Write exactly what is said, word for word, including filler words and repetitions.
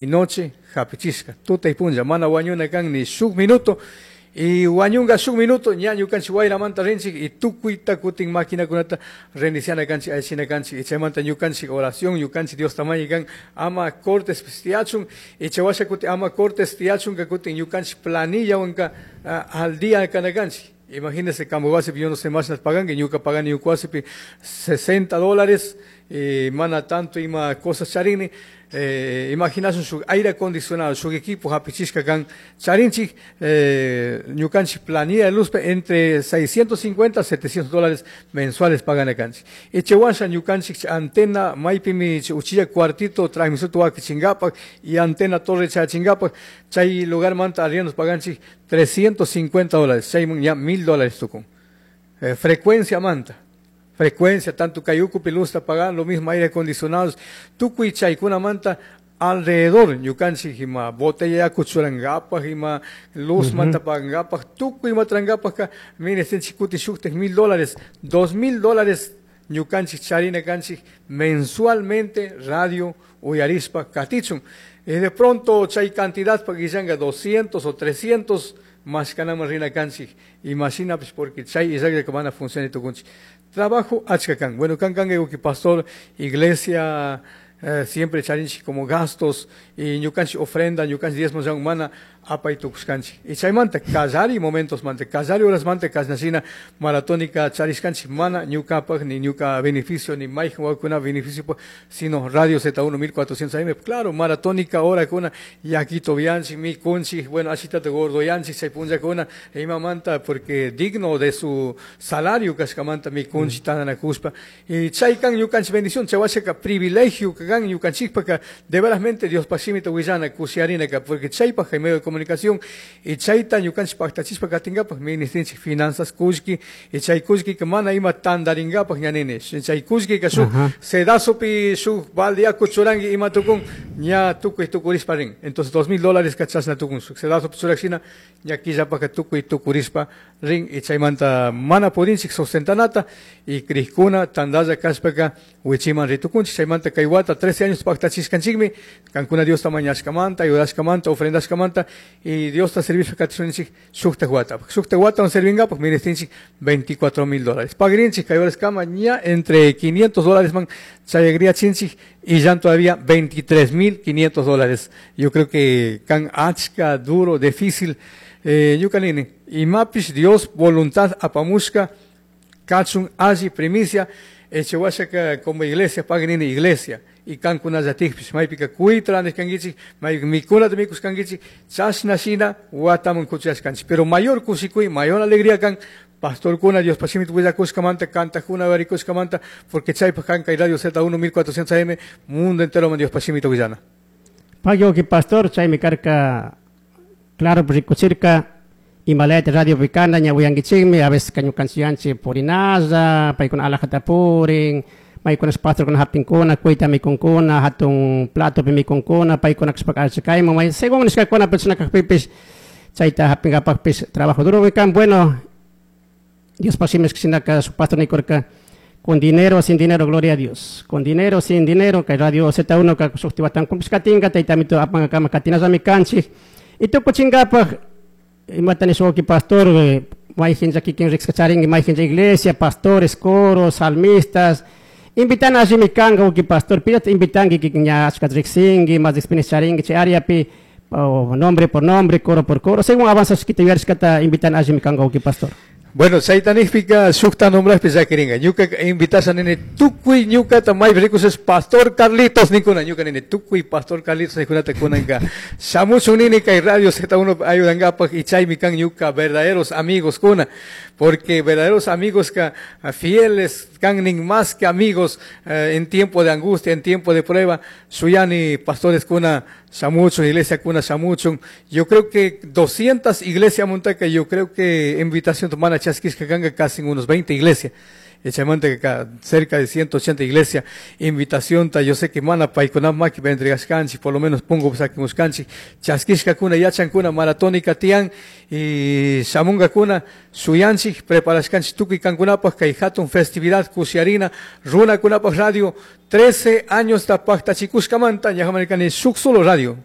Noche hapichishka, tuta y punlla, mana wañuna kan ni shuk minuto, y wañunga shuk minuto, ña ñukanchik wayramanta rinchik, y tukuyta kutin maquinakunata reiniciana kanchik, allichina kanchik, y chaymanta ñukanchik oración, ñukanchik Dios tamañi kan, ama cortes tiyachun, y chaywasha kutin ama cortes tiyachun, ka kutin ñukanchik planillawanka al día kana kanchik. Imagínense, kampu wasipi, yo no sé más pagan, que ñuka pagani ñuka wasipi sesenta dólares, y mana tanto ima cosas charini. Eh, imaginasun su aire acondicionado, su equipo hapichishka kan charinchik, eh, ñukanchik planilla de luz entre seiscientos cincuenta a setecientos dólares mensuales pagan akanchik. Y chewasha ñukanchik antena maypimi uchilla cuartito transmisor tuwaki chingapak y antena torre chachingapak, chay lugar manta arriendos paganchik trescientos cincuenta dólares, chayman ya mil dólares tukun. Eh, frecuencia manta. Frecuencia, tanto kayuku pilusta pagan, lo mismo aire acondicionados, tukuy chaykuna manta alrededor, ñukanchik ima botella yaku churangapaj, ima luz Ujú. manta pagangapaj, tukuy matrangapaj ka, mire, este kuti shuktek mil dólares, dos mil dólares ñukanchik charina kanchik mensualmente radio uyarispa katichun. Y de pronto chay cantidad pa guillanga doscientos o trescientos más kanama rina kanchik. Imagina pues porque chay isaac que van a funcionar tukunchik. Trabajo achka kan. Bueno, kan kan que pastor, iglesia, eh, siempre charinchik como gastos y ñukanchik ofrenda, ñukanchik diezmos ya humana apay tukuskanchik. Y chaymanta kallari momentos manta, kallari horas manta kasnashina maratónica charishkanchik mana ñukapaj ni ñuka beneficio ni mayjan wakuna beneficio, sino Radio Z uno mil cuatrocientos A M, claro, maratónica hora kuna yakito bianchik, mi kunchik, bueno, ashitata gordo yanchik, chay punllakuna, ima manta porque digno de su salario kashkamanta mi kunchik tandanakuspa. Y chaykan ñukanchik bendición, chaywashaka privilegio kan ñukanchikpaka de verasmente Dios pashimita willana kushiarinaka, porque chaypaj hay medio de comunicación y chayta ñukanchik paktachispa katingapaj ministrinchik finanzas kullki y chay kullki que mana ima tandaringapaj ñanini, chay kullki que shuk Ajá. sedazopi shuk balde yaku churangi ima tukun ña tukuy tukurispa rin, entonces dos mil dólares kachasna tukun shuk sedazopi churakshina ña killapaka tukuy tukurispa rin y chaymanta mana pudinchik sostentanata y krikuna tandalla kashpaka wichiman ritukunchik chaymanta kay wata trece años paktachiskanchikmi kankuna Diosta mañashkamanta ayudashkamanta ofrendashkamanta y Diosta servicio katishunchik shukta wata shukta wata on servingapaj ministrinchik veinticuatro mil dólares pagrinchik kay horas kama ña entre quinientos dólares man chayagriachinchik y ya todavía veintitrés mil quinientos dólares. Yo creo que kan achka duro difícil, eh, ñukanini y mapish Dios voluntad apamushka kachun alli primicia echewashaka como iglesia pagrinini iglesia y kankuna yatikpish maypika kuytra nishkankichik maypika mikunata mikushkankichik chashna shina wataman kuchashkanchik pero mayor kushikuy mayor alegría kan pastorkuna Dios pashimit willakushkamanta kantakuna varikushkamanta porque chaypaj kan kay Radio Z uno mil cuatrocientos A M mundo entero man Dios pashimita willana. Pagyo ki pastor chaymi karka claro rikuchirka imalayta radio pikana ñawiyankichikmi a veces kañukanchiyanchik purinaza paykuna alajata purin paykuna pastorkuna hapinkuna kuyta mikunkuna hatun platopi mikunkuna paykuna kashpaka achikayman may según nishkakuna persona kajpipis chayta hapinkapakpis trabajo duro kan bueno Dios pasimes shinaka su pastor nikurka con dinero sin dinero gloria a Dios con dinero sin dinero kay radio Z uno ka suktiwatan kumpiskatinga taytamito apankakama katinazami kanchik y tukuchinkapaj imata nishuki pastor, eh, mayjin kikin rikskacharinki mayjin iglesia pastores coros salmistas invitan a allí kanga uki pastor pidat invitanki kikin ña achkat riksinki más experiencia charinki chay áreapi o nombre por nombre coro por coro según avanza shkita yuyarishkata invitan a allí kanga uki pastor. Bueno, chaytanijpika shukta nombraspi llakirinka. Ñuka invitasha nini tukuy ñukata maypi rikusha Pastor Carlitos nikuna. Ñuka nini tukuy Pastor Carlitos nikunata kunanka. Shamuchun nini kay Radio Z uno ayudankapaj y chaymi kan ñuka verdaderos amigos kuna. Porque verdaderos amigos ka fieles kan nin más que amigos, eh, en tiempo de angustia, en tiempo de prueba. Shuyani pastores kuna shamuchun, iglesia kuna shamuchun. Yo creo que doscientas iglesias montaca, yo creo que invitación tomana chaskishka kanga casi unos veinte iglesias. Chaymanta cerca de ciento ochenta iglesia invitación ta yo sé que mana paykuna makipi entregashkanchik, por lo menos punkupi sakimushkanchik, chaskishkakuna yachankuna maratónica tiyan y shamunkakuna shuyanchik preparashkanchik tukuy kankunapaj kay hatun festividad kushiyarina runakunapaj radio trece años ta paktachikushkamanta ñajamarikani shuk solo radio.